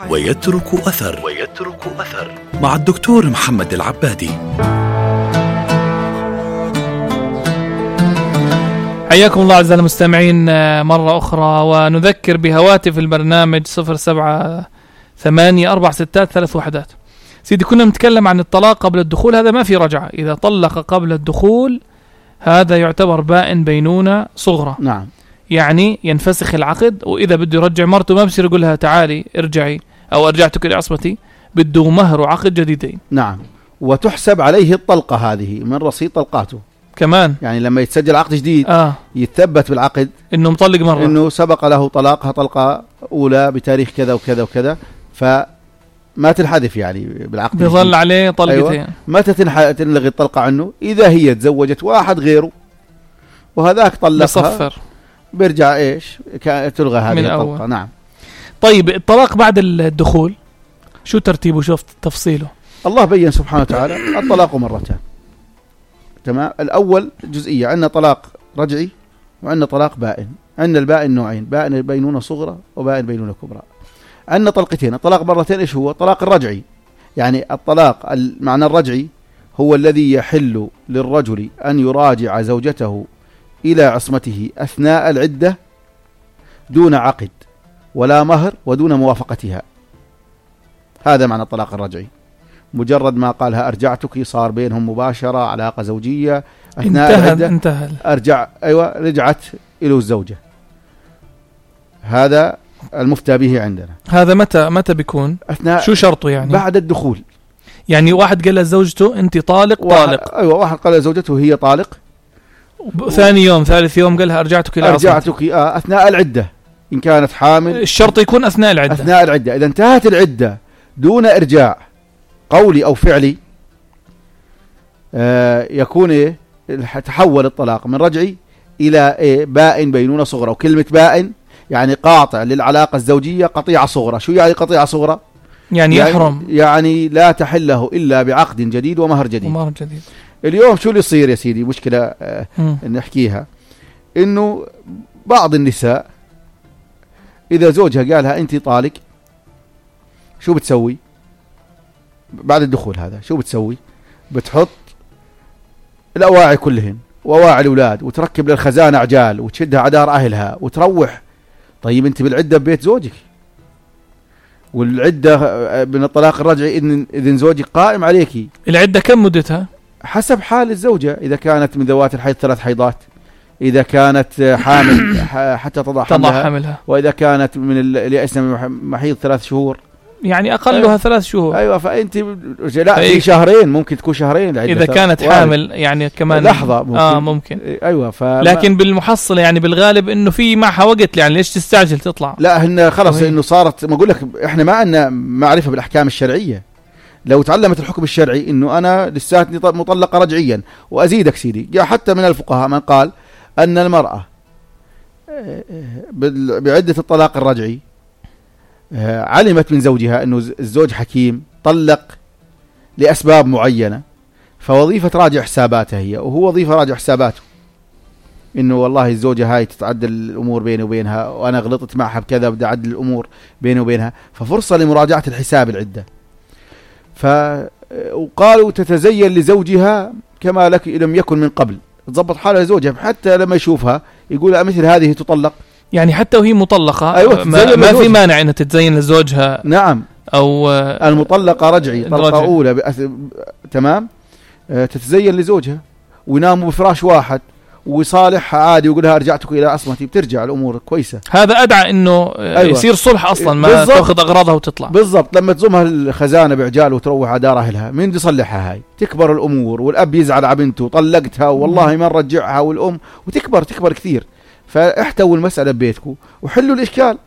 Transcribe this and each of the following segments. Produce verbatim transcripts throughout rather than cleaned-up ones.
ويترك أثر ويترك أثر مع الدكتور محمد العبادي. حياكم الله أعزائي المستمعين مرة أخرى، ونذكر بهواتف البرنامج صفر سبعة ثمانية أربعة ستات ثلاث وحدات. سيدي كنا نتكلم عن الطلاق قبل الدخول، هذا ما في رجعة. إذا طلق قبل الدخول هذا يعتبر بائن بينونة صغرى. نعم، يعني ينفسخ العقد، وإذا بده يرجع مرته ما بصير يقول لها تعالي ارجعي أو أرجعتك إلى عصمتي، بده مهر وعقد جديدين. نعم، وتحسب عليه الطلقة هذه من رصيد طلقاته كمان. يعني لما يتسجل عقد جديد آه. يتثبت بالعقد إنه مطلق مرة، إنه سبق له طلاقها طلقة أولى بتاريخ كذا وكذا وكذا، فما تنحذف يعني بالعقد، بيظل عليه طلقتين. أيوة. متى تنلغي الطلقة عنه؟ إذا هي تزوجت واحد غيره وهذاك طلقها بصفر، بيرجع إيش تلغى هذه الطلقة. نعم. طيب الطلاق بعد الدخول شو ترتيبه؟ شوف تفصيله. الله بيّن سبحانه وتعالى الطلاق مرتان. تمام. الأول جزئية، عندنا طلاق رجعي وعندنا طلاق بائن. عندنا البائن نوعين، بائن بينونة صغرى وبائن بينونة كبرى. عندنا طلقتين. الطلاق مرتين إيش هو؟ الطلاق الرجعي، يعني الطلاق المعنى الرجعي هو الذي يحل للرجل أن يراجع زوجته إلى عصمته أثناء العدة دون عقد ولا مهر ودون موافقتها. هذا معنى الطلاق الرجعي. مجرد ما قالها أرجعتك صار بينهم مباشرة علاقة زوجية أثناء انتهى العدة. انتهى أرجع أيوة رجعت إلى الزوجة. هذا المفتى به عندنا. هذا متى متى بيكون؟ أثناء شو شرطه يعني؟ بعد الدخول. يعني واحد قال لزوجته أنت طالق طالق. أيوة، واحد قال لزوجته هي طالق، ثاني يوم ثالث يوم قالها أرجعتك إلى عصمتي. أرجعتك آه أثناء العدة إن كانت حامل. الشرط يكون أثناء العدة. أثناء العدة. إذا انتهت العدة دون إرجاع قولي أو فعلي آه يكون إيه؟ تحول الطلاق من رجعي إلى إيه؟ بائن بينونة صغرى. وكلمة بائن يعني قاطع للعلاقة الزوجية قطيعة صغرى. شو يعني قطيعة صغرى؟ يعني, يعني يحرم، يعني لا تحله إلا بعقد جديد ومهر جديد. ومهر جديد. اليوم شو اللي يصير يا سيدي؟ مشكلة آه نحكيها، إنه بعض النساء إذا زوجها قالها أنت طالق شو بتسوي بعد الدخول؟ هذا شو بتسوي؟ بتحط الأواعي كلهن وأواعي الأولاد وتركب للخزانة عجال وتشدها عدار أهلها وتروح. طيب أنت بالعدة ببيت زوجك، والعدة من الطلاق الرجعي إذن, إذن زوجك قائم عليكي. العدة كم مدتها؟ حسب حال الزوجة. إذا كانت من ذوات الحيض ثلاث حيضات، إذا كانت حامل حتى تضع حملها, حملها، وإذا كانت من اللي يأسنا محيض ثلاث شهور، يعني أقلها أيوة. ثلاث شهور. أيوة. فأنت لا في شهرين، ممكن تكون شهرين إذا كانت وارد. حامل يعني كمان لحظة ممكن. آه ممكن. أيوة. لكن بالمحصلة يعني بالغالب إنه في معها وقت، يعني ليش تستعجل تطلع؟ لا هن خلص إنه صارت. ما أقول لك إحنا ما عندنا معرفة بالأحكام الشرعية. لو تعلمت الحكم الشرعي إنه أنا لساتني مطلقة رجعيا. وأزيدك سيدي، جاء حتى من الفقهاء من قال أن المرأة بعدة الطلاق الرجعي علمت من زوجها أنه الزوج حكيم طلق لأسباب معينة، فوظيفة راجع حساباتها هي، وهو وظيفة راجع حساباته، إنه والله الزوجة هاي تتعدل الأمور بيني وبينها، وأنا غلطت معها بكذا بدي أعدل الأمور بيني وبينها، ففرصة لمراجعة الحساب العدة. فقالوا تتزين لزوجها كما لك لم يكن من قبل، تضبط حالها لزوجها حتى لما يشوفها يقول مثل هذه تطلق. يعني حتى وهي مطلقة أيوة ما, ما في مانع أنها تتزين لزوجها. نعم. أو المطلقة رجعي طلقة أولى بأث... تمام أه تتزين لزوجها ويناموا بفراش واحد ويصالحها عادي ويقولها أرجعتك إلى عصمتي، بترجع الأمور كويسة. هذا أدعى إنه أيوة. يصير صلح أصلا، ما بالزبط. تأخذ أغراضها وتطلع. بالضبط. لما تزمها الخزانة بعجال وتروح على دار أهلها، مين دي يصلحها؟ هاي تكبر الأمور، والأب يزعل على بنته طلقتها والله ما نرجعها، والأم وتكبر تكبر كثير. فاحتووا المسألة ببيتكم وحلوا الإشكال.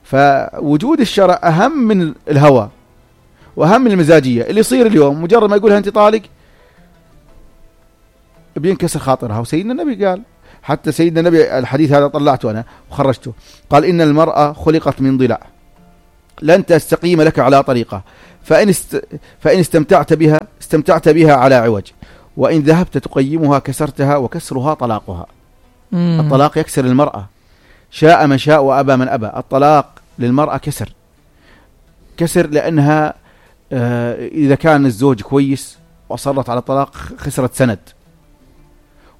فوجود الشرع أهم من الهوى وأهم من المزاجية. اللي يصير اليوم مجرد ما يقولها أنت طالق بينكسر خاطرها. وسيدنا النبي قال، حتى سيدنا النبي الحديث هذا طلعته أنا وخرجته، قال إن المرأة خلقت من ضلع لن تستقيم لك على طريقة، فإن, است... فإن استمتعت بها استمتعت بها على عوج، وإن ذهبت تقيمها كسرتها، وكسرها طلاقها. مم. الطلاق يكسر المرأة، شاء من شاء وأبى من أبى. الطلاق للمرأة كسر. كسر لأنها آه إذا كان الزوج كويس وأصرت على الطلاق خسرت سند.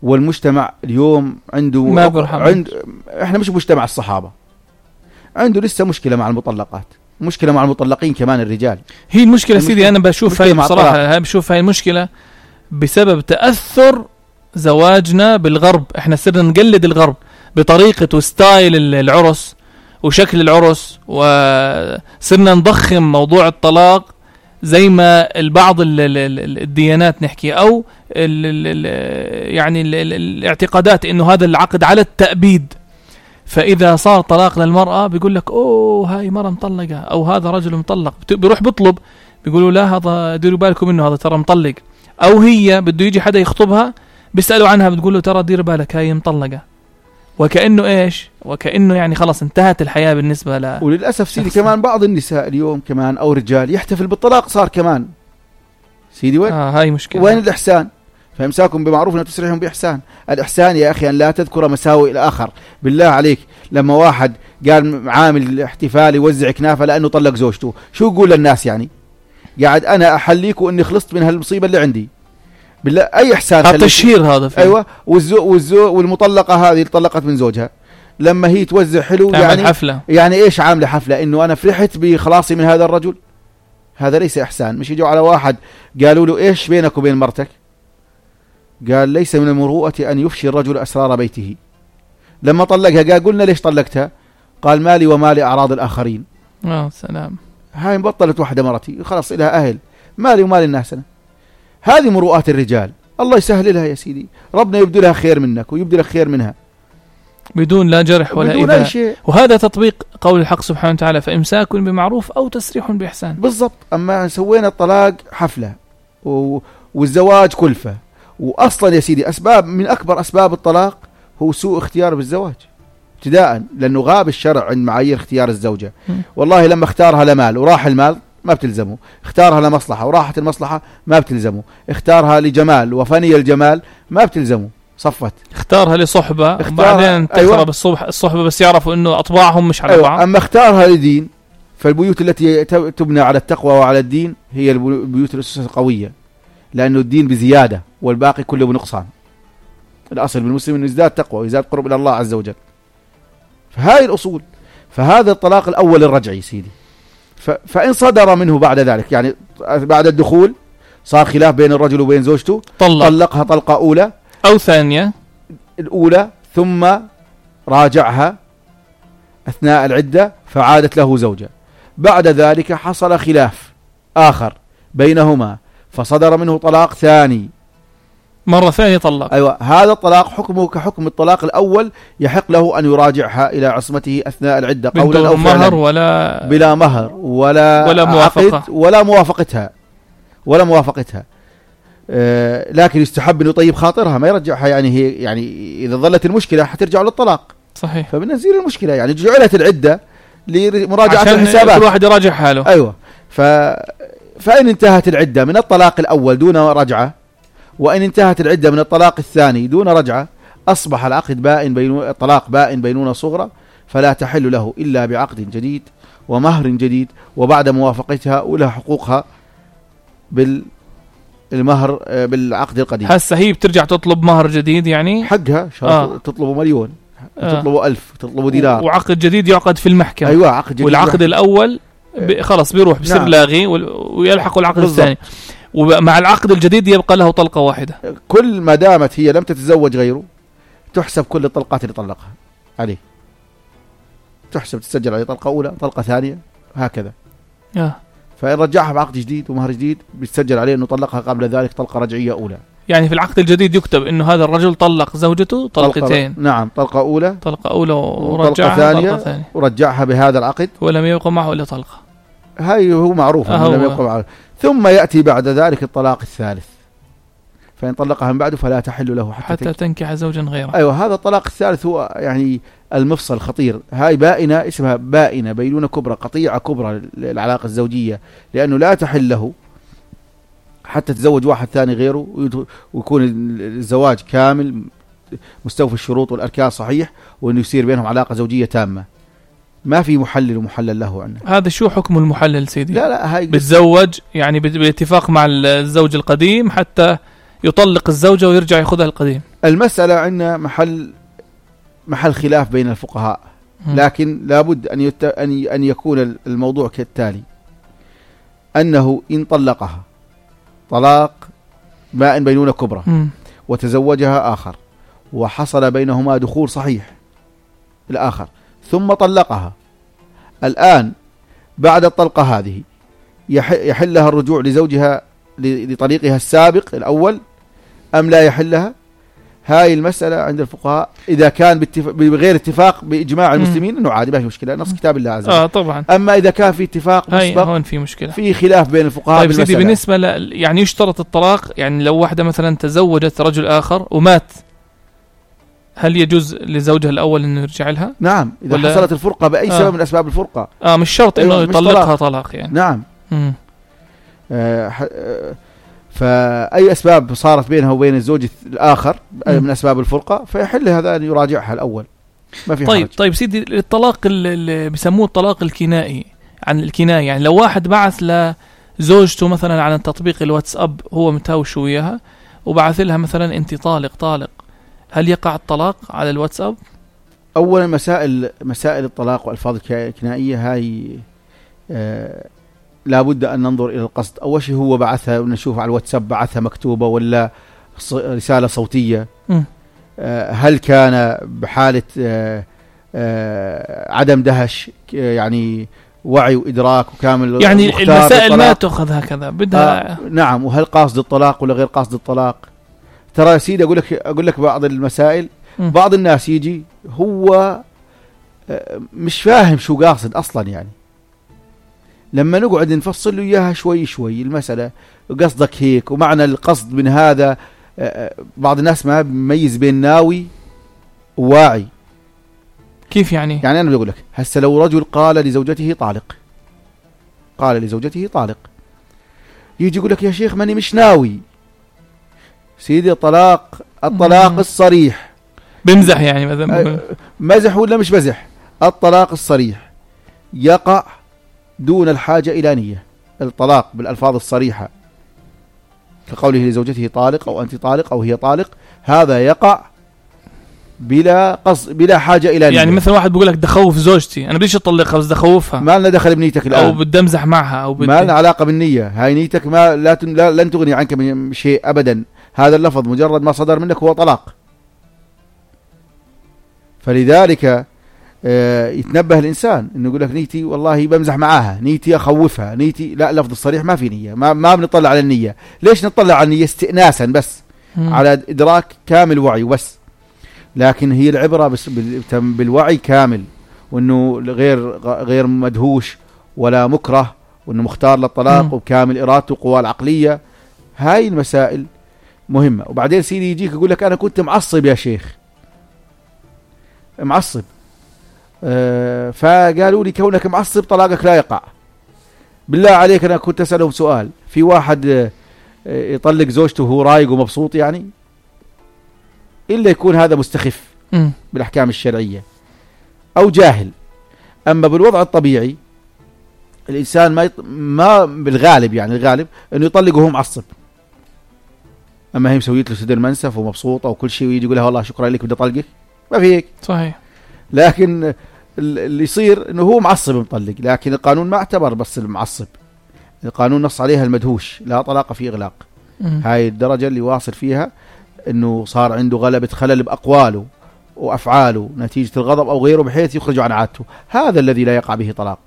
والمجتمع اليوم عنده ما برحم. عند احنا مش مجتمع الصحابة، عنده لسه مشكلة مع المطلقات، مشكلة مع المطلقين كمان الرجال. هي المشكلة سيدي أنا بشوف هاي بصراحة، هاي بشوف هاي المشكلة بسبب تأثر زواجنا بالغرب. احنا صرنا نقلد الغرب بطريقة وستايل العرس وشكل العرس، وصرنا نضخم موضوع الطلاق زي ما البعض الديانات نحكي أو ال ال يعني ال ال الاعتقادات إنه هذا العقد على التأبيد. فإذا صار طلاق للمرأة بيقول لك أوه هاي مرة مطلقة أو هذا رجل مطلق، بيروح بيطلب بيقولوا لا هذا ديروا بالكم منه هذا ترى مطلق. أو هي بده يجي حدا يخطبها بيسألوا عنها بتقول له ترى دير بالك هاي مطلقة، وكأنه إيش وكأنه يعني خلاص انتهت الحياة بالنسبة له. وللأسف سيدي كمان بعض النساء اليوم كمان أو رجال يحتفل بالطلاق صار كمان سيدي وين آه هاي مشكلة. وين الإحسان؟ فإمساكم بمعروف وتسريحهم بإحسان. الإحسان يا أخي أن لا تذكر مساوئ الآخر. بالله عليك لما واحد قال عامل احتفال يوزع كنافة لأنه طلق زوجته، شو يقول للناس يعني؟ قاعد أنا أحليك وإني خلصت من هالمصيبة اللي عندي. بالله أي إحسان؟ هذا تشهير هذا فيه. أيوة. والزو والزو والمطلقة هذه اللي طلقت من زوجها لما هي توزع حلو يعني حفلة. يعني إيش عاملة حفلة؟ إنه أنا فرحت بخلاصي من هذا الرجل. هذا ليس إحسان. مش يجوا على واحد قالوا له إيش بينك وبين مرتك؟ قال ليس من المروءة أن يفشي الرجل أسرار بيته. لما طلقها قال قلنا ليش طلقتها؟ قال مالي ومالي أعراض الآخرين. آه سلام. هاي مبطلت واحدة مرتي خلاص إلها أهل، مالي ومال الناس أنا. هذه مروءات الرجال، الله يسهل لها يا سيدي، ربنا يبدو لها خير منك ويبدو لك خير منها بدون لا جرح ولا بدون إيذاء. شيء. وهذا تطبيق قول الحق سبحانه وتعالى فإمساك بمعروف أو تسريح بإحسان. بالضبط. أما سوينا الطلاق حفلة و... والزواج كلفة. وأصلا يا سيدي أسباب من أكبر أسباب الطلاق هو سوء اختيار بالزواج ابتداء، لأنه غاب الشرع عن معايير اختيار الزوجة. م. والله لما اختارها لمال وراح المال ما بتلزمه، اختارها لمصلحة وراحت المصلحة ما بتلزمه، اختارها لجمال وفني الجمال ما بتلزمه، صفت. اختارها لصحبة وبعدين تخرب. أيوة. الصبح الصحبة بس يعرفوا انه اطباعهم مش على أيوة. بعض. اما اختارها لدين، فالبيوت التي تبنى على التقوى وعلى الدين هي البيوت الأسس القوية، لأنه الدين بزيادة والباقي كله بنقصان. الأصل بالمسلم أنه يزداد تقوى ويزداد قرب إلى الله عز وجل. فهاي الأصول. فهذا الطلاق الأول الرجعي سيدي. فإن صدر منه بعد ذلك يعني بعد الدخول صار خلاف بين الرجل وبين زوجته، طلق. طلقها طلقة أولى أو ثانية، الأولى ثم راجعها أثناء العدة فعادت له زوجة. بعد ذلك حصل خلاف آخر بينهما فصدر منه طلاق ثاني، مرة ثانية طلق. أيوة. هذا الطلاق حكمه كحكم الطلاق الأول، يحق له أن يراجعها إلى عصمته أثناء العدة قولا أو فعلا، مهر ولا بلا مهر ولا ولا موافقة ولا موافقتها ولا موافقتها آه لكن يستحب أن يطيب خاطرها ما يرجعها. يعني هي يعني إذا ظلت المشكلة حترجع للطلاق. صحيح. فبنزيل المشكلة يعني جعلت العدة لمراجعة الحسابات، كل واحد يراجع حاله. أيوة. ف... فإن انتهت العدة من الطلاق الأول دون رجعة، وإن انتهت العدة من الطلاق الثاني دون رجعة، أصبح العقد بائن بين الطلاق بائن بينونة صغرى، فلا تحل له إلا بعقد جديد ومهر جديد وبعد موافقتها ولها حقوقها بالمهر بالعقد القديم. هسه هي بترجع تطلب مهر جديد يعني حقها آه. تطلبوا مليون آه. تطلبوا ألف تطلبوا دينار، وعقد جديد يعقد في المحكمة. أيوة عقد جديد. والعقد الأول خلص بيروح بصير نعم. لاغي ويلحق العقد بالضبط. الثاني ومع العقد الجديد يبقى له طلقة واحدة. كل ما دامت هي لم تتزوج غيره تحسب كل الطلقات اللي طلقها عليه، تحسب تسجل عليه طلقة أولى طلقة ثانية هكذا. آه. فإن رجعها بعقد جديد ومهر جديد بيتسجل عليه أنه طلقها قبل ذلك طلقة رجعية أولى. يعني في العقد الجديد يكتب إنه هذا الرجل طلق زوجته طلقتين. نعم طلقة أولى طلقة أولى ورجعها ثانية, طلقة ثانية ورجعها بهذا العقد ولم يبقى معه إلا طلقة. هاي هو معروف آه لم يبقى معه. ثم يأتي بعد ذلك الطلاق الثالث، فإن طلقها من بعده فلا تحل له حتى, حتى تنكح زوجا غيره. أيوة. هذا الطلاق الثالث هو يعني المفصل الخطير. هاي بائنة اسمها بائنة بينونة كبرى، قطيعة كبرى للعلاقة الزوجية، لأنه لا تحل له حتى تزوج واحد ثاني غيره ويكون الزواج كامل مستوفي الشروط والأركان صحيح، وأنه يصير بينهم علاقة زوجية تامة. ما في محلل ومحلل له عندنا. هذا شو حكم المحلل سيدي؟ لا لا هاي بتزوج يعني بالاتفاق مع الزوج القديم حتى يطلق الزوجة ويرجع يأخذها القديم. المسألة عندنا محل محل خلاف بين الفقهاء، لكن لابد أن يت... أن أن يكون الموضوع كالتالي: أنه إن طلقها طلاق بائن بينونة كبرى م. وتزوجها آخر وحصل بينهما دخول صحيح الآخر ثم طلقها، الآن بعد الطلقة هذه يح... يحلها الرجوع لزوجها لطليقها السابق الأول أم لا يحلها؟ هاي المسألة عند الفقهاء إذا كان باتفاق بغير اتفاق بإجماع المسلمين إنه عادي ما في مشكلة، نص كتاب الله عز وجل. آه طبعا. أما إذا كان في اتفاق مسبق هون في مشكلة، في خلاف بين الفقهاء. طيب سيدي بالنسبة ل... يعني يشترط الطلاق، يعني لو واحدة مثلا تزوجت رجل آخر ومات، هل يجوز لزوجها الأول إنه يرجع لها؟ نعم إذا ولا... حصلت الفرقة بأي آه. سبب من أسباب الفرقة. آه مش شرط إنه أيوة يطلقها طلاق. طلاق يعني. نعم. مم. آه ح... آه فأي أسباب صارت بينها وبين الزوج الآخر من أسباب الفرقة فيحل هذا أن يراجعها الأول، ما في طيب حرج. طيب سيدي الطلاق اللي بيسموه الطلاق الكنائي، عن الكناية يعني لو واحد بعث لزوجته مثلا على تطبيق الواتساب هو متهاوش وياها وبعث لها مثلا أنت طالق طالق، هل يقع الطلاق على الواتساب؟ أولا مسائل مسائل الطلاق والألفاظ الكنائية هاي آه لابد أن ننظر إلى القصد. أول شيء هو بعثها ونشوف على الواتساب بعثها مكتوبة ولا رسالة صوتية. آه هل كان بحالة آه آه عدم دهش يعني وعي وإدراك وكامل، يعني المسائل ما تأخذ هكذا بدها. آه نعم. وهل قاصد الطلاق ولا غير قاصد الطلاق؟ ترى يا سيدي أقول لك أقول لك بعض المسائل م. بعض الناس يجي هو آه مش فاهم شو قاصد أصلا، يعني لما نقعد نفصل له إياها شوي شوي المسألة قصدك هيك ومعنى القصد من هذا. بعض الناس ما بيميز بين ناوي وواعي. كيف يعني؟ يعني أنا بقول لك هسه لو رجل قال لزوجته طالق قال لزوجته طالق يجي يقول لك يا شيخ ماني مش ناوي. سيدي الطلاق الطلاق الصريح بمزح يعني مثلا مزح ولا مش مزح؟ الطلاق الصريح يقع دون الحاجة إلى نية. الطلاق بالألفاظ الصريحة كقوله لزوجته طالق أو أنت طالق أو هي طالق، هذا يقع بلا قصد بلا حاجة إلى نية. يعني مثلا واحد بيقول لك دخوف زوجتي، أنا بديش أطلقها بس دخوفها، ما لنا دخل بنيتك الآن، أو بدي أمزح معها، أو بدي ما لنا علاقة بالنية. هاي نيتك ما لا, تن... لا لن تغني عنك من شيء أبدا. هذا اللفظ مجرد ما صدر منك هو طلاق. فلذلك آه يتنبه الإنسان إنه يقول لك نيتي والله بمزح معاها، نيتي أخوفها، نيتي لا. لفظ الصريح ما في نية، ما ما بنطلع على النية. ليش نطلع على النية؟ استئناسا بس مم. على إدراك كامل وعي وبس. لكن هي العبرة بس بالوعي كامل، وإنه غير غير مدهوش ولا مكره، وإنه مختار للطلاق مم. وكامل إرادته وقواه العقلية. هاي المسائل مهمة. وبعدين سيدي يجيك يقول لك أنا كنت معصب يا شيخ، معصب. آه فقالوا لي كونك معصب طلاقك لا يقع. بالله عليك أنا كنت أسألهم سؤال، في واحد آه يطلق زوجته وهو رايق ومبسوط يعني؟ إلا يكون هذا مستخف م. بالأحكام الشرعية أو جاهل. أما بالوضع الطبيعي الإنسان ما يط... ما بالغالب يعني الغالب إنه يطلق وهو معصب. أما هي مسويت له صدر منسف ومبسوطة وكل شيء ويجي يقول لها والله شكرا لك بدي أطلقك، ما في هيك. صحيح. لكن اللي يصير إنه هو معصب مطلق، لكن القانون ما اعتبر بس المعصب، القانون نص عليها المدهوش لا طلاق في إغلاق. م. هاي الدرجة اللي واصل فيها إنه صار عنده غلبة خلل بأقواله وأفعاله نتيجة الغضب أو غيره بحيث يخرج عن عادته، هذا الذي لا يقع به طلاق.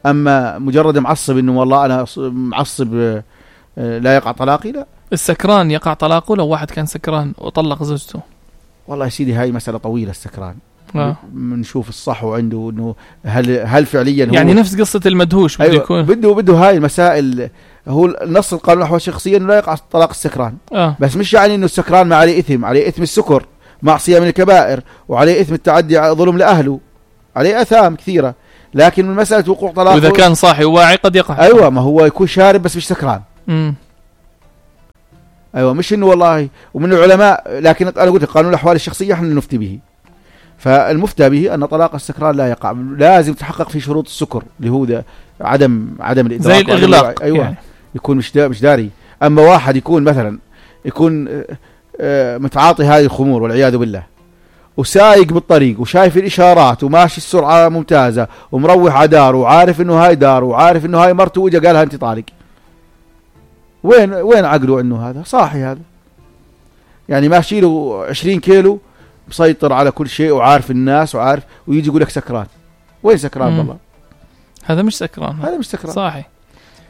أما مجرد معصب إنه والله أنا معصب لا يقع طلاقي، لا. السكران يقع طلاقه لو واحد كان سكران وطلق زوجته؟ والله يا سيدي هاي مسألة طويلة. السكران بنشوف آه. الصح عنده إنه هل هل فعليا هو يعني نفس قصة المدهوش بده أيوة يكون بده بده هاي المسائل. هو نص القانون الأحوال الشخصية إنه لا يقع طلاق السكران آه. بس مش يعني إنه السكران ما عليه إثم، عليه إثم السكر معصية من الكبائر، وعليه إثم التعدي ظلم لأهله، عليه أثام كثيرة. لكن من مسألة وقوع طلاق وإذا كان صاحي وواعي قد يقع. أيوة ما هو يكون شارب بس مش سكران. مم. أيوة مش إنه والله. ومن العلماء، لكن أنا قلت قانون الأحوال الشخصية إحنا نفتي به. فالمفتى به أن طلاق السكران لا يقع، لازم تحقق في شروط السكر اللي هو ده عدم عدم الإدراك زي الإغلاق. أيوة يعني. يكون مش مش داري. أما واحد يكون مثلا يكون متعاطي هذه الخمور والعياذ بالله وسايق بالطريق وشايف الإشارات وماشي السرعة ممتازة ومروح على داره وعارف إنه هاي داره وعارف إنه هاي مرته وجا قالها أنت طالق، وين وين عقله إنه هذا صاحي؟ هذا يعني ماشي له عشرين كيلو مسيطر على كل شيء وعارف الناس وعارف، ويجي يقول لك سكران. وين سكران؟ والله هذا مش سكران، هذا مش سكران صاحي.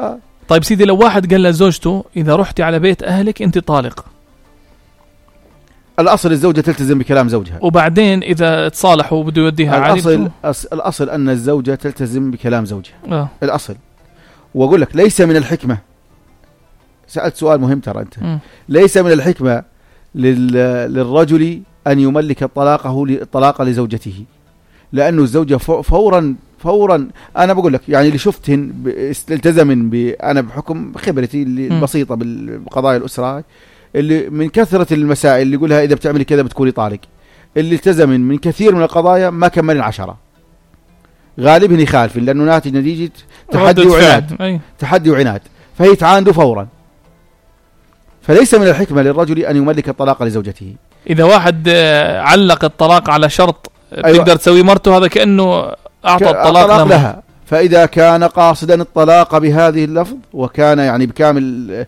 آه. طيب سيدي، لو واحد قال لزوجته إذا رحتي على بيت أهلك أنت طالق، الأصل الزوجة تلتزم بكلام زوجها، وبعدين إذا تصالحوا وبده يوديها عادي. الأصل أص... الأصل أن الزوجة تلتزم بكلام زوجها. آه. الأصل. وأقول لك ليس من الحكمة، سألت سؤال مهم ترى أنت، م. ليس من الحكمة لل... للرجل أن يملك طلاقه الطلاق لزوجته، لأنه الزوجة فورا فورا أنا بقول لك يعني اللي شفتهن التزمن ب... أنا بحكم خبرتي البسيطة بقضايا الأسرة، اللي من كثرة المسائل اللي يقولها إذا بتعملي كذا بتكوني طالق، اللي التزمن من كثير من القضايا ما كمل عشرة، غالبا يخالف لأنه ناتج نتيجة تحدي وعناد. أي. تحدي وعناد، فهي تعاند فورا. فليس من الحكمة للرجل أن يملك الطلاق لزوجته. إذا واحد علق الطلاق على شرط أيوة. تقدر تسوي مرته، هذا كأنه أعطى الطلاق لها. فإذا كان قاصدا الطلاق بهذه اللفظ وكان يعني بكامل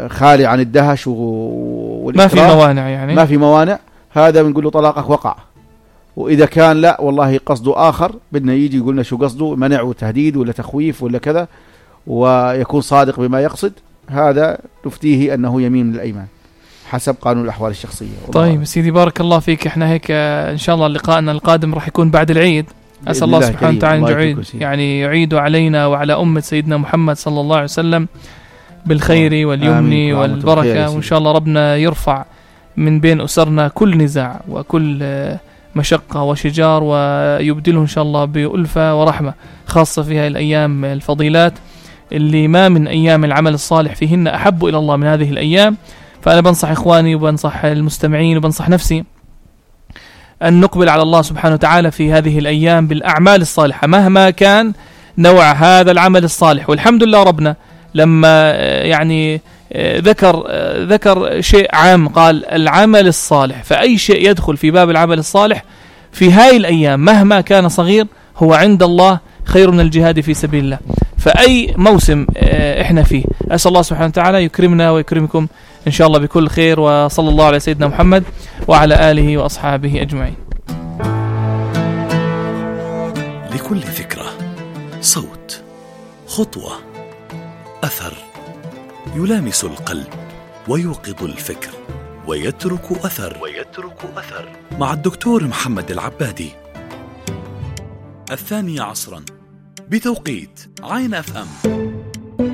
خالي عن الدهش ما في موانع، يعني ما في موانع، هذا بنقول له طلاقك وقع. وإذا كان لا والله قصده آخر، بدنا يجي يقولنا شو قصده، منع وتهديد ولا تخويف ولا كذا، ويكون صادق بما يقصد، هذا نفتيه أنه يمين من الأيمان حسب قانون الأحوال الشخصية. طيب سيدي، بارك الله فيك. احنا هيك إن شاء الله لقاءنا القادم راح يكون بعد العيد. أسأل الله سبحانه وتعالى يعيد يعني يعيد علينا وعلى أمة سيدنا محمد صلى الله عليه وسلم بالخير واليمن والبركة، وإن شاء الله ربنا يرفع من بين أسرنا كل نزاع وكل مشقة وشجار، ويبدله إن شاء الله بألفة ورحمة، خاصة في هذه الأيام الفضيلات اللي ما من أيام العمل الصالح فيهن أحب إلى الله من هذه الأيام. فأنا بنصح إخواني وبنصح المستمعين وبنصح نفسي أن نقبل على الله سبحانه وتعالى في هذه الأيام بالأعمال الصالحة مهما كان نوع هذا العمل الصالح. والحمد لله ربنا لما يعني ذكر ذكر شيء عام، قال العمل الصالح، فأي شيء يدخل في باب العمل الصالح في هاي الأيام مهما كان صغير هو عند الله خير من الجهاد في سبيل الله. فأي موسم إحنا فيه أسأل الله سبحانه وتعالى يكرمنا ويكرمكم إن شاء الله بكل خير، وصلى الله على سيدنا محمد وعلى آله وأصحابه أجمعين. لكل فكرة صوت، خطوة، أثر يلامس القلب ويوقظ الفكر ويترك أثر ويترك أثر مع الدكتور محمد العبادي. الثانية عصرا بتوقيت عين أف أم.